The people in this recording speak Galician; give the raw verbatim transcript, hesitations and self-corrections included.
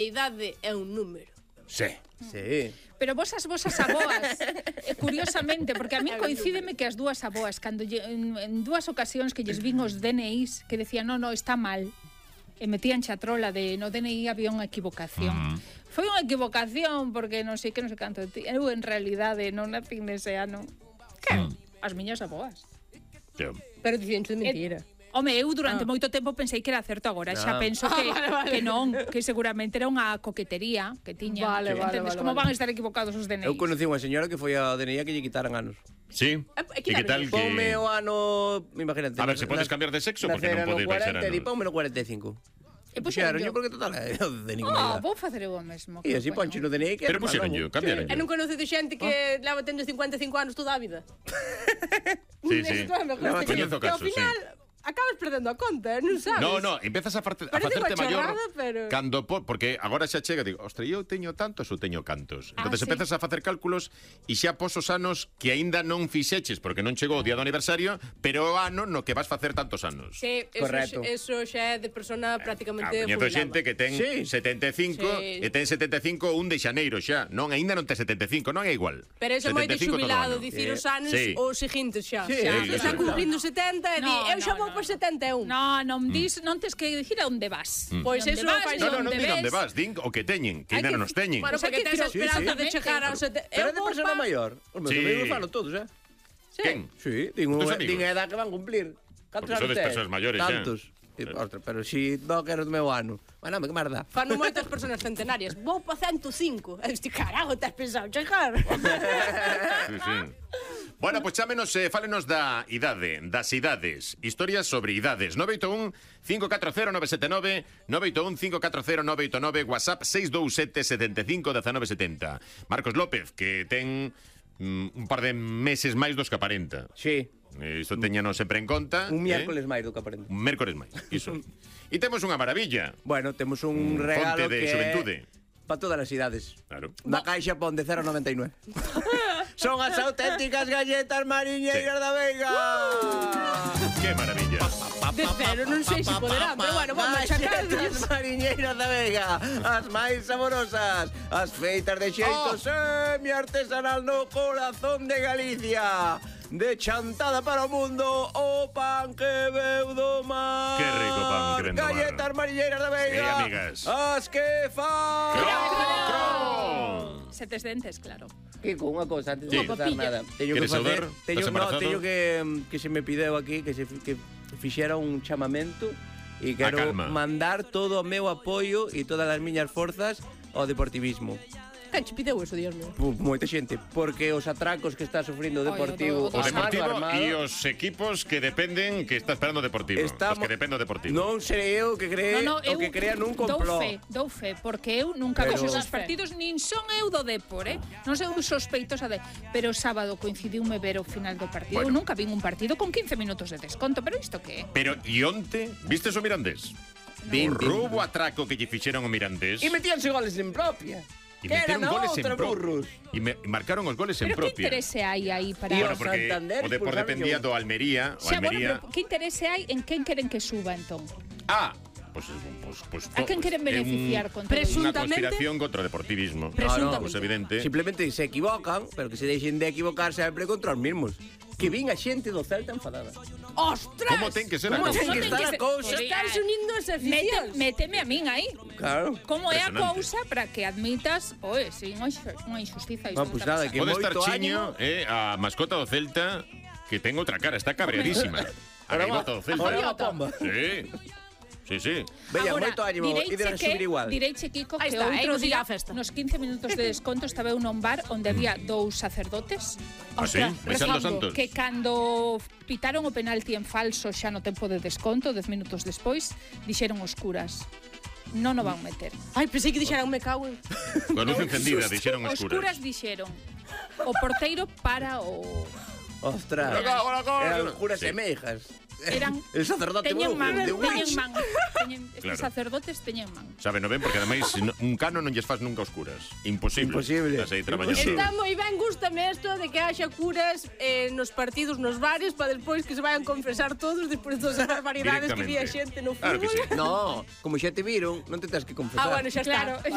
idade é un número. Sí. Sí. Pero vos as vosas aboas, eh, curiosamente, porque a mí coincídeme que as dúas aboas, cando lle, en, en dúas ocasións que lles vin os D N Is que decían, no, no, está mal, e metían chatrola de no D N I había unha equivocación. Mm. Foi unha equivocación porque non sei que non sei canto. Eu, en realidade, non nacín nese ano. Que? Mm. As miñas aboas. Yeah. Pero dicen de mentira. Et, Home, eu durante ah. moito tempo pensei que era certo, agora xa penso que, ah, vale, vale. que non, que seguramente era unha coquetería que tiña. Vale, vale, entendes? vale, Como vale. van a estar equivocados os D N Is? Eu conocí unha señora que foi ao D N I que lle quitaran anos. Sí? E que tal que... Ponme o ano... Imagínate. A ver, se podes cambiar de sexo, porque non podes baixar ano. E ponme no cuarenta e cinco. E puxeron yo porque total é o D N I. Ah, vou facer eu o mesmo. E así ponche no D N I que... Pero puxeron yo, cambiaron yo. E non conoce de xente que leva tendo cincuenta e cinco anos toda a vida. Sí, sí. Coñezo casos, sí. Acabas perdendo a conta, non sabes? No, no, empezas a, farte, a facerte maior pero... cando po, porque agora xa chega, digo, ostra, eu teño tantos ou teño cantos. Ah, Entonces sí. empezas a facer cálculos e xa pos os anos que aínda non fixeches porque non chegou o día do aniversario, pero o ano no que vas facer tantos anos. Sí, eso, correcto. Eso xa é de persona prácticamente Coñezo xente que ten sí. setenta e cinco sí. e ten setenta e cinco un de xaneiro xa. Non, aínda non ten setenta e cinco, non é igual. Pero eso é moito xubilado, dicir os anos sí. os seguintes xa. Sí, xa sí, está sí. cumplindo setenta e di, No, eu xa no, vou no, por setenta e un. No, non dis, non tes que dicir a onde vas. Mm. Pois Onde eso vas, fai- No, no, non onde digan onde ves. vas, din o que teñen, que Hai ainda que- non nos teñen. Bueno, Pois hai porque que tes a decir- esperanza sí, de sí. chegar aos setenta. Pero é de persona maior. Os meus Sí. amigos falo todos, eh? Quen? Sí, din, Tus unha, amigos? din a edad que van cumplir. Cantos Porque sodes anos tes? persoas maiores, xa. Tantos. E, ostra, pero si no que eres do meu ano. Bueno, que merda. Fano moitas persoas centenarias. Vou pa cento cinco. E este carajo, te has pensado chegar? Sí, sí. Bueno, pois pues chámenos, eh, fálenos da idade, das idades, historias sobre idades. nove oito un, cinco catro cero, nove sete nove, nove oito un, cinco catro cero, nove oito nove, WhatsApp seis dous sete, sete cinco, uno nove sete cero. Marcos López, que ten mm, un par de meses máis dos que aparenta. Sí. Eh, Isto teñanos sempre en conta. Un eh? miércoles máis do que aparente. Un mércores máis, iso. E temos unha maravilla. Bueno, temos un Mm, regalo fonte de que xuventude. para todas as idades. Claro. Na caixa pon de cero a noventa e nueve. Son as auténticas galletas mariñeiras Sí. da Veiga. Que maravilla. De cero, non sei se poderán, pero bueno, vamos a chacar. Galletas mariñeiras da Veiga, as máis saborosas, as feitas de xeito Oh. semi-artesanal no corazón de Galicia. De chantada para o mundo, o pan que veu do mar. Que rico pan que ven do mar. Galletas mariñeiras da Veiga. Sí, amigas. As que fan. Cron! Setes dentes, claro. Kiko, unha cosa, antes Sí. de empezar nada. Teño que Queres facer, saudar? teño, Estás no, embarazado? teño que, que se me pideu aquí que se que fixera un chamamento e quero calma. mandar todo o meu apoio e todas as miñas forzas ao deportivismo. Quen che pideu eso, Dios mío? Pu- Moita xente, porque os atracos que está sufrindo o Ai, Deportivo, o do- o O do- a mano Deportivo armada, e os equipos que dependen que está esperando o Deportivo. Estamos- Os que depende o Deportivo. non serei eu que cree No, no, o eu que crea nun dou complot. fe, dou fe, porque eu nunca Pero- vexo os partidos, nin son eu do Depor, eh? Non sei, eu sospeitosa de... Pero o sábado coincidiume ver o final do partido. Bueno. Eu nunca vin un partido con quince minutos de desconto, pero isto que é? Pero e onte, vistes o Mirandés? Vin, O vin. roubo atraco que lle fixeron o Mirandés. E metíanse goles en propia. E Que meteron eran goles en outra pro- burros. E me, e marcaron os goles en Pero que propia. interese hai aí para... E Bueno, o porque Santander o Depor expulsaron dependía yo. do Almería, o Xa, bueno, Almería. pero que interese hai en quen queren que suba, entón? Ah, pues, pues, pues, A quen queren beneficiar con todo isto? Unha Presuntamente- conspiración contra o deportivismo. Presuntamente. Pues evidente. Simplemente se equivocan, pero que se deixen de equivocar sempre contra os mismos. Que vin a xente do Celta enfadada. Ostras! Como ten que ser a Como cousa? ten que estar a cousa? Estás unindo as Mete, aficións. méteme a min aí. Claro. Como é a Impresionante. cousa para que admitas, oe, sin unha injustiza isto. Ah, pues que está nada, pasando. que Pode estar moito Chiño, ánimo. eh, a mascota do Celta, que ten outra cara, está cabreadísima. A Ahora gaivota do Celta. ahora va pomba. Sí. Sí, sí. Veña, Agora, moito ánimo, direiche e de que- subir igual. Direiche, Kiko, Aí que está, outro eh, non siga día, a festa. nos quince minutos de desconto, estaba eu nun bar onde había dous sacerdotes Ah, sí? Baixando rezando, santos. que cando pitaron o penalti en falso xa no tempo de desconto, dez minutos despois, dixeron os curas: non o van meter. Ai, pensei que dixeran me cago en... Con luz encendida, dixeron Os os curas curas. dixeron: o porteiro para o... Ostras. Hola, hola, hola. Eran juras Sí. e meijas. Eran, El sacerdote teñen brujo man, de teñen Witch. man, teñen, estes Claro. sacerdotes teñen man. Sabe, non ben, porque ademais no- un cano non lles faz nunca os curas. Imposible. Imposible. Estás aí traballando. Está moi ben, gústame isto de que haxa curas eh, nos partidos, nos bares, para despois que se vayan confesar todos despois de todas as barbaridades que di a Directamente. xente no Claro que fútbol. sí. No, como xa te viron, non te tens que confesar. Ah, bueno, xa está. Claro,